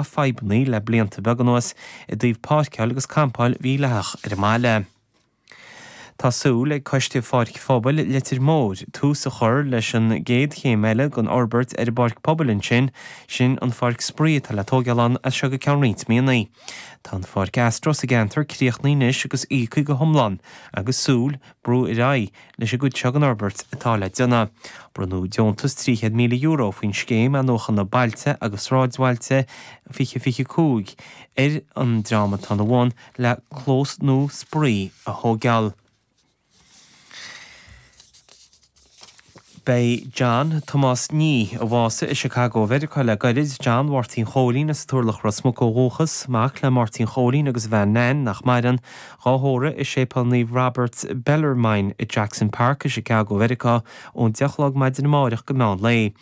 Fadhbanna le blianta beaga anuas i dtaobh páirceáil agus campáil mhídhleathach ar an mbaile. Tá súil ag Coiste Pháirc Phobail Leitir Móir tús a chur leis an gcéad chéim eile den fhorbairt ar an bpáirc pobail ansin, sin an pháirc spraoi atá le tóigeáil ann as seo go ceann roinnt míonna. Tá an pháirc astro sa gceantar críochnaithe anois agus íoctha go hiomlán agus súil brú ar aghaidh leis an gcuid seo den fhorbairt atá le déanamh. Bronnadh deontas €300,000 faoin Scéim Athnuachana Bailte agus Sráidbhailte 2025 ar an dream atá ina bhun le clós nua spraoi a thóigeáil. Beidh John Tomás Nee, a bhásaigh i Chicago Mheiriceá le gairid, John Mháirtín Chóilín as an Turlach Ros Muc ó dhúchas, mac le Máirtín Chóilín agus a bhean Nan, nach maireann, dhá thórramh i Séipéal Naomh Robert Bellarmine i Jackson Park i Chicago Mheiriceá ón 10 a chlog maidin amáireach go meán lae.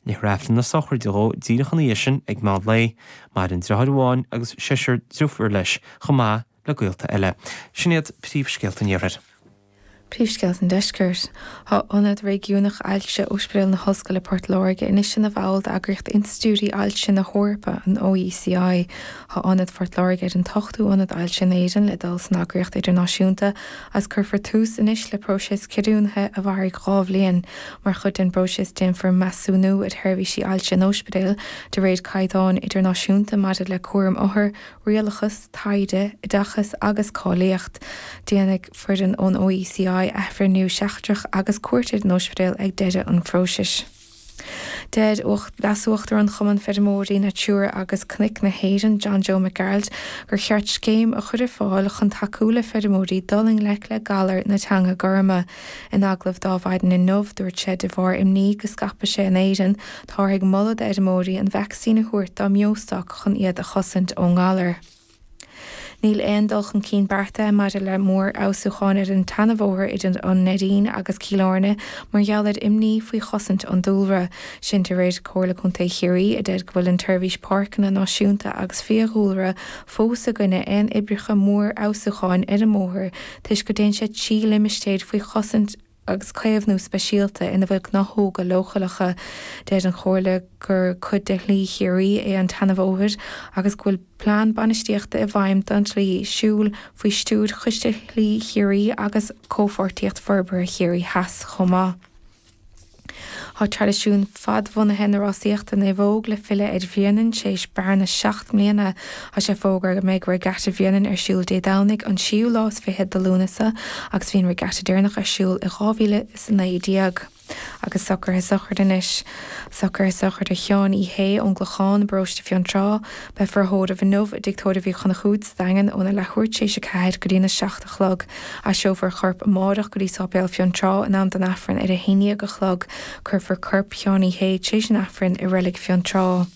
Léifear Aifreann na sochraide dhó díreach ina dhiaidh sin ag meán lae. Maireann deartháir amháin agus seisear driofúr leis chomh maith le gaolta eile. Sin iad príomhscéalta an Iarthair. Príomhscéalta an Deiscirt. Tá Ionad Réigiúnach Ailse Ospidéal na hOllscoile Port Láirge anois ina bhall d'Eagraíocht Institiúidí Ailse na hEorpa, an OECI. Tá Ionad Phort Láirge ar an t-ochtú ionad ailse in Éirinn le dul san eagraíocht idirnáisiúnta agus cuirfear tús anois le próiseas ceadúnaithe a mhairfidh 2 bhliain. Mar chuid den bpróiseas déanfar measúnú ar sheirbhísí ailse an ospidéil de réir caighdeáin idirnáisiúnta maidir le cúram othar, rialachas, taighde, oideachas agus cáilíocht. Déanfaidh foireann ón OECI athbhreithniú seachtrach agus cuairt ar an ospidéal ag deireadh an phróisis. Deir Leas-Uachtarán Chumann Feirmeoirí Natura agus Cnoic na hÉireann, John Joe Mac Gearailt, gur cheart scéim a chur ar fáil chun tacú le feirmeoirí dul i ngleic le galar na teanga gorma. In agallamh d'Adhmhaidin inniu, dúirt sé de bharr imní go scaipfidh sé in Éirinn, táthar ag moladh d'fheirmeoirí an vacsaín a thabhairt dá mbeostoc chun iad a chosaint ón ngalar. Níl aon dul chun cinn beartaithe maidir le mórfheabhsúcháin ar an tseanabhóthar idir an Neidín agus Cill Airne mar gheall ar imní faoi chosaint an dúlra. Sin de réir Comhairle Contae Chiarraí a deir go bhfuil an tSeirbhís Páirceanna Náisiúnta agus Fiadhúlra fós i gcoinne aon oibreacha mórfheabhsúcháin ar an mbóthar toisc go dtéann sé trí limistéir faoi chosaint agus caomhnú speisialta ina bhfuil gnáthóga leochaileacha. Deir an Chomhairle gur cuid de Shlí Chiarraí é an tseanabhóthar agus go bhfuil plean bainistíochta i bhfeidhm don tslí siúil faoi stiúir Choiste Shlí Chiarraí agus Comhpháirtíocht Forbartha Chiarraí Theas chomh maith. Tá traidisiún fadbhunaithe na rásaíochta naomhóg le filleadh ar Bhréanainn tar éis bearna 7 mbliana. Tá sé fógartha go mbeidh Regatta Bhréanainn ar siúl Dé Domhnaigh an séú lá is fichead de Lúnasa agus bhí an regatta deireanach ar siúl i 2019. Agus socruithe sochraide anois. Socruithe sochraide Sheáin Uí Shé ón gClochán i bparóiste Fionntrá. Beifear á thórramh inniu i dTigh Tórraimh Uí Chonchúir sa Daingean óna leathuair tar éis a 4 go dtína 7 a chlog. Aistreofar a chorp amárach go dtí Sáipéal Fionntrá in am don Aifreann ar a haon dhéag a chlog. Cuirfear corp Sheáin Uí Shé tar éis an Aifrinn i Reilig Fionntrá.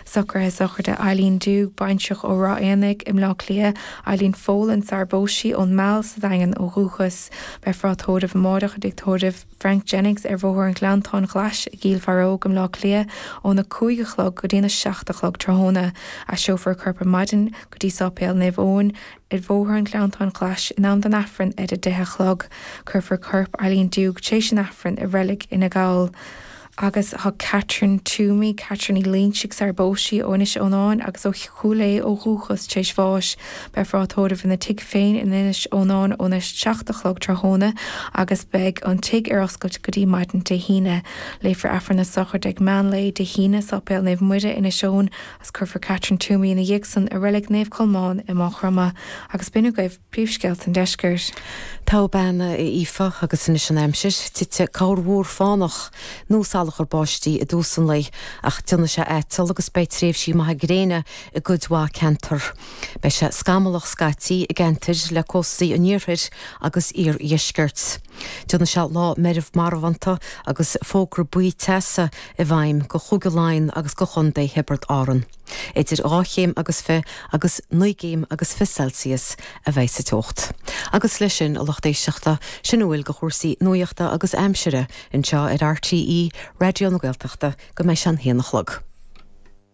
Socruithe sochraide Eileen Doogue, baintreach ó Ráth Éanaigh i mBleá Cliath, Eileen Folan sar bpós sí ón Meall sa Daingean ó dhúchas. Beifear á tórramh amárach i dTigh Tórraimh Frank Jennings ar Bhóthar an Ghleanntáin Ghlais i gCill Bharróg i mBleá Cliath óna 5 a chlog go dtína 7 a chlog tráthnóna. Aistreofar a corp ar maidin go dtí Sáipéal Naomh Eoin ar Bhóthar an Ghleanntáin Ghlais in am don Aifreann ar a 10 a chlog. Cuirfear corp Eileen Doogue tar éis an Aifrinn i Reilig Fhine Gall. Agus tá Catherine Toomey, Catherine Uí Loingsigh sar bpós sí ó Inis Eonáin agus ó Chúil Aodha ó dhúchas tar éis bháis. Beifear á tórramh ina tigh féin in Inis Eonáin óna 7 a chlog tráthnóna agus beidh an tigh ar oscailt go dtí maidin Dé hAoine. Léifear Aifreann na sochraide ag meán lae Dé hAoine, Sáipéal Naomh Muire, Inis Eoin. Agus cuirfear Catherine Toomey ina dhiaidh san i Reilig Naomh Colmán i Maigh Chromtha. Agus b'in agaibh príomhscéalta an deiscirt. Togha bean a Aoife, agus anois an aimsir. Titfidh corrmhúr fánach nó salachar báistí i dtús an lae, ach déanfaidh sé aiteal agus beidh tréimhsí maithe gréine i gcuid mhaith ceantar. Beidh sé scamallach scaití i gceantair le cóstaí an iarthair agus iardheiscirt. Déanfaidh sé lá meirbh marbhánta agus fógra buí teasa i bhfeidhm go Chúige Laighean agus go Chontae Thiobraid Árann. Idir dhá chéim agus fi agus naoi gcéim agus fi Celsius a bheidh sa teocht. Agus leis sin, a lucht éisteachta, sin a bhfuil de chúrsaí nuachta agus aimsire anseo ar RTÉ Raidió na Gaeltachta go mbeidh sé an haon a chlog.